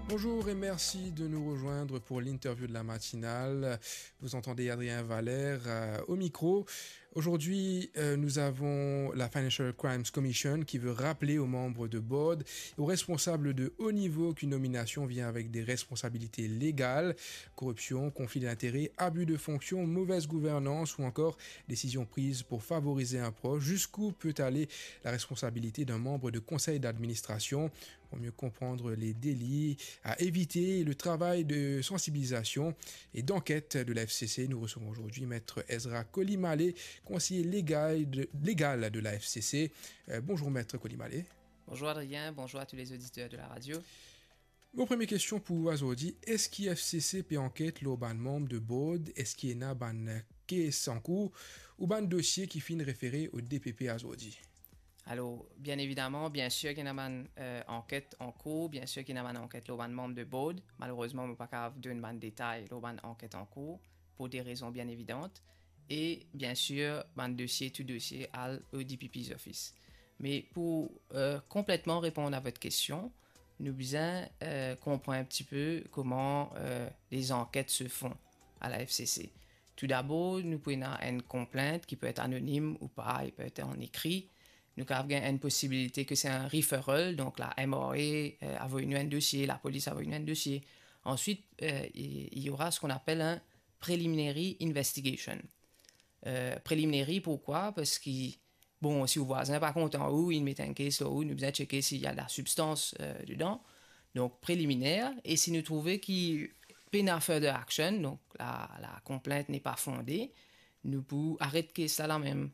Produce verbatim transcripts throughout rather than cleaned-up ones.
Bonjour et merci de nous rejoindre pour l'interview de la matinale. Vous entendez Adrien Valère, euh, au micro. Aujourd'hui, euh, nous avons la Financial Crimes Commission qui veut rappeler aux membres de board et aux responsables de haut niveau qu'une nomination vient avec des responsabilités légales, corruption, conflit d'intérêts, abus de fonction, mauvaise gouvernance ou encore décision prise pour favoriser un proche. Jusqu'où peut aller la responsabilité d'un membre de conseil d'administration ? Pour mieux comprendre les délits à éviter, le travail de sensibilisation et d'enquête de la F C C, nous recevons aujourd'hui Maître Ezra Kolimale, conseiller légal de, légal de la F C C. Euh, bonjour Maître Kolimale. Bonjour Adrien, bonjour à tous les auditeurs de la radio. Mo premie kestion pou ou azordi, eski F C C pe anket lor bann manm de board, eski ena bann kes ankour ou bann dosie ki finn refere o D P P azordi? Alor, bien evidaman, bien sir ki ena bann, euh, anket ankour, bien sir ki ena bann anket lor bann manm de board. Malerezman, mo pa kapav donn bann detay lor bann anket ankour, pou de rezon bien evidant. E bien sir, bann dosie, tou dosie al o D P P's office. Me pou, euh, konpletman reponn a vot kestion, nou bizin, euh, konpran enn tipe kouma, euh, les enquêtes se font à la F C C. Toudabor, nou pou ena enn konplint ki pe et anonim ou pa, li pe et an ekri. Nou kapav gagn enn posibilite ke se enn referral, donk la M R A, euh, avoy nou enn dosie, lapolis avoy nou enn dosie. Answit, euh, il, il y aura ce qu'on appelle un preliminary investigation. Euh, preliminary, pourkwa? Parski, bon, si ou vwazin pa kontan ou, inn met enn kes lor ou, nou bizin tcheke si ena lasibstans, euh, dedan. Donk, preliminèr, e si nou trouve ki pena further action, donk la, la complainte n'est pas fondée, nou pou aret kes la lamem.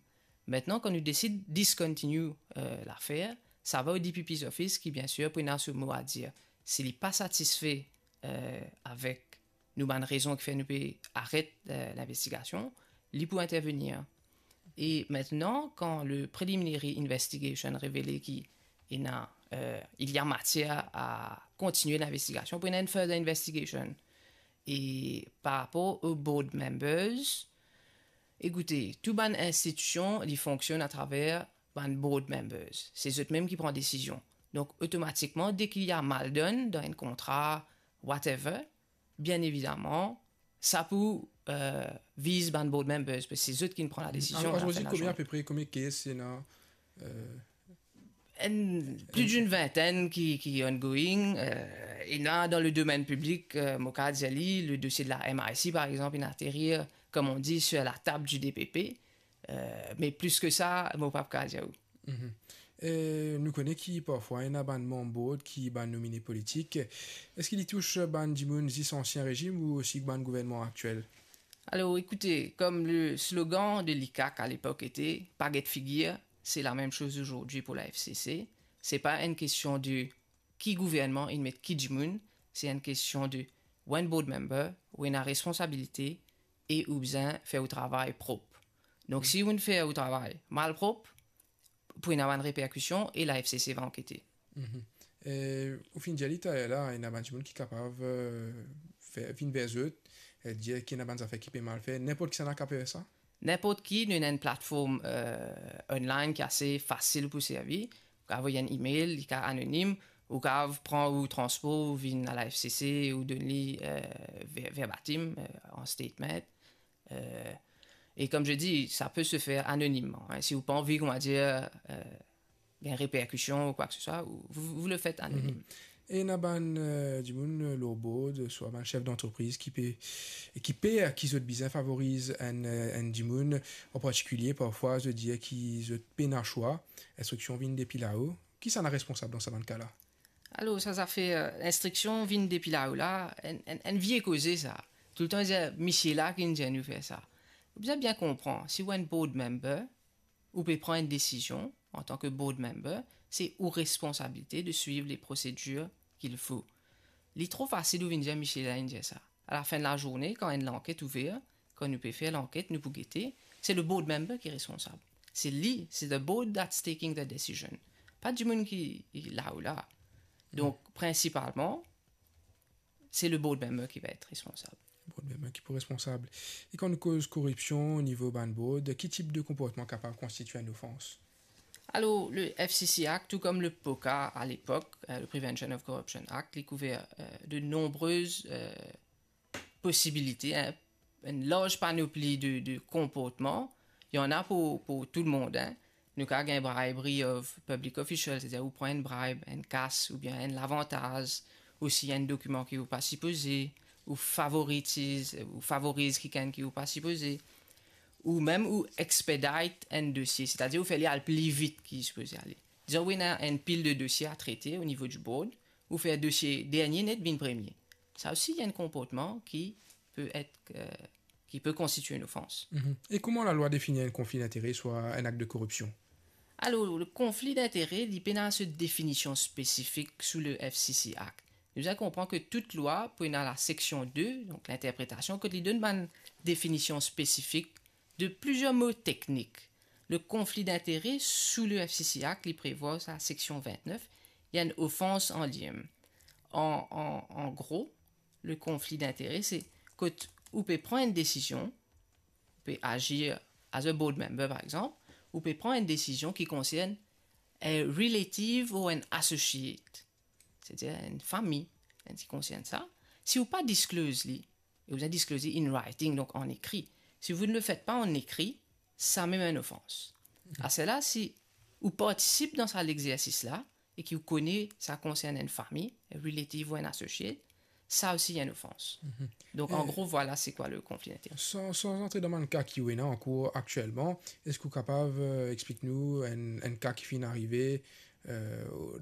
Aster, kan nou desid discontinue, euh, lafer, sa va o D P P's office ki, bien sir, pou ena so mo a dir. Si li pa satisfe, euh, avek nou bann rezon ki fer nou pe aret, euh, linvestigasion, li pou intervenir. E aster, kan le preliminary investigation revele ki ena, euh, il y a matière à continuer l'investigation, pou ena enn further investigation. E par rapor o board members, ekoute, tou bann institision, li fonksionn atraver bann board members. Se zot mem ki pran desizion. Donk, otomatikman, deki ena mal donn dan enn kontra, whatever, bien evidaman, sa pou, euh, viz bann board members, parski se zot ki pran ladesizion. Alor, alor, lafin de lazourne. Konbien apepre, konbien kes ena, euh, enn, plus d'une vingtaine ki, ki ongoing, euh, ena dan le domaine public, euh, mo kapav dir li, le dosie de la M I C, par exemple, inn aterir, comme on dit, sur la table du D P P. Euh, me plis ki sa, mo pa kapav dir ou. Mhm. E nou kone ki parfwa ena bann manm board ki bann nomine politik. Eski li tous bann dimoun zis ansien rezim ou osi bann gouvernman aktiel? Alor, ekoute, comme le slogan de l'ICAC à l'époque était, pa get figir, c'est la même chose aujourd'hui pour la F C C. Se pa enn kestion de ki gouvernman inn met ki dimoun, se enn kestion de ou enn board member, ou ena responsabilite e ou bizin fer ou travay prop. Donk, si ou fer ou travay malprop, pou ena bann reperkision e la F C C va ankete. Mhm. E ou finn dir li taler la, ena bann dimoun ki kapav, euh, fer, vinn ver zot, e dir ki ena bann zafer ki pe mal fer. Ninport kisannla kapav fer sa? Ninport ki, nou ena enn platform, euh, online ki ase fasil pou servi. Ou kapav avoy enn email, li kapav anonim, ou kapav pran ou transpor, ou vinn a la F C C, ou donn li, euh, ver-, verbatim, euh, an statement. Euh, et comme je dis, ça peut se faire anonymement, hein. Si ou pa anvi, kouma dir, euh, gagn reperkision ou kwa ke se swa, ou, vous, vous le faites anonyme. Mhm. E ena bann, euh, dimoun, euh, lor board, swa bann sef dantrepriz ki pe, ki per ki zot bizin favoriz enn, euh, enn dimoun, an partikilie, parfwa, zot dir ki zot pena swa, instriksion vinn depi lao. Kisannla responsab dan sa bann ka la? Alor, sa zafer, euh, instriksion vinn depi lao la, enn, enn, enn vie koze sa. Toultan dir, misie la ki inn dir nou fer sa. Ou bizin bien konpran, si ou enn board member, ou pe pran enn desizion, antan ke board member, se ou responsabilite de suiv les procédures qu'il faut. Li tro fasil ou vinn dir misie la inn dir sa. A la fin de lazourne, kan enn lanket ouver, kan nou pe fer lanket, nou pou gete, se le board member ki responsab. Se li, se the board that's taking the decision. Pa dimoun ki, ki lao la. Donk, prinsipalman, se le board member ki va et responsab. Board member ki pou responsab. E kan nou koz koripsion o nivo bann board, ki tip de konportman kapav konstitie enn ofans? Alors, le F C C Act, tout comme le POCA à l'époque, euh, le Prevention of Corruption Act, li kouver, euh, de nombreuses, euh, posibilite, en, enn larz panopli de, de konportman. Li ena pou, pou tou lemonn, en. Nou kav gagn bribery of public official, setadir ou pran enn bribe, enn kas, oubien enn lavantaz, ou sign enn dokiman ki ou pa sipoze, ou favorize, ou favoriz kikenn ki ou pa sipoze, ou mem ou expedite enn dosie, setadir ou fer li al pli vit ki li sipoze ale. Dizon, ou ena enn pil de dosie a trete o nivo di board, ou fer dosie dernie net vinn premie. Sa osi, li enn konportman ki pe et, euh, ki pe konstitie enn ofans. Mhm. E kouma lalwa defini enn konfli dintere, swa enn akt de koripsion? Alors, le conflit d'intérêt, li pena so definision spesifik sou le F C C Act. Nou bizin konpran ki tout lwa pou ena la seksion de, donk linterpretasion, kot li donn bann definision spesifik de plizier mo teknik. Le conflit d'intérêt sou le F C C Act, li prevwar sa seksion vintnef, li enn ofans an limem. An, an, an gro, le conflit d'intérêt, se kot ou pe pran enn desizion, ou pe azir as a board member, par exanp, ou pe pran enn desizion ki konsern a relative or an associate, setadir enn fami, enn ki konsern sa. Si ou pa disclose li, e ou bizin disclose li in writing, donk an ekri. Si vous ne le faites pas en écrit, sa mem enn ofans. Aster la, si ou partisip dan sa lexersis la, e ki ou kone sa konsern enn fami, a relative or an associate, sa osi enn ofans. Mhm. Donk, an gro, vwala se kwa le konfli dintere. San, san antre dan bann ka ki ou ena ankour aktielman, eski ou kapav, euh, explik nou enn, enn ka ki finn arive, euh,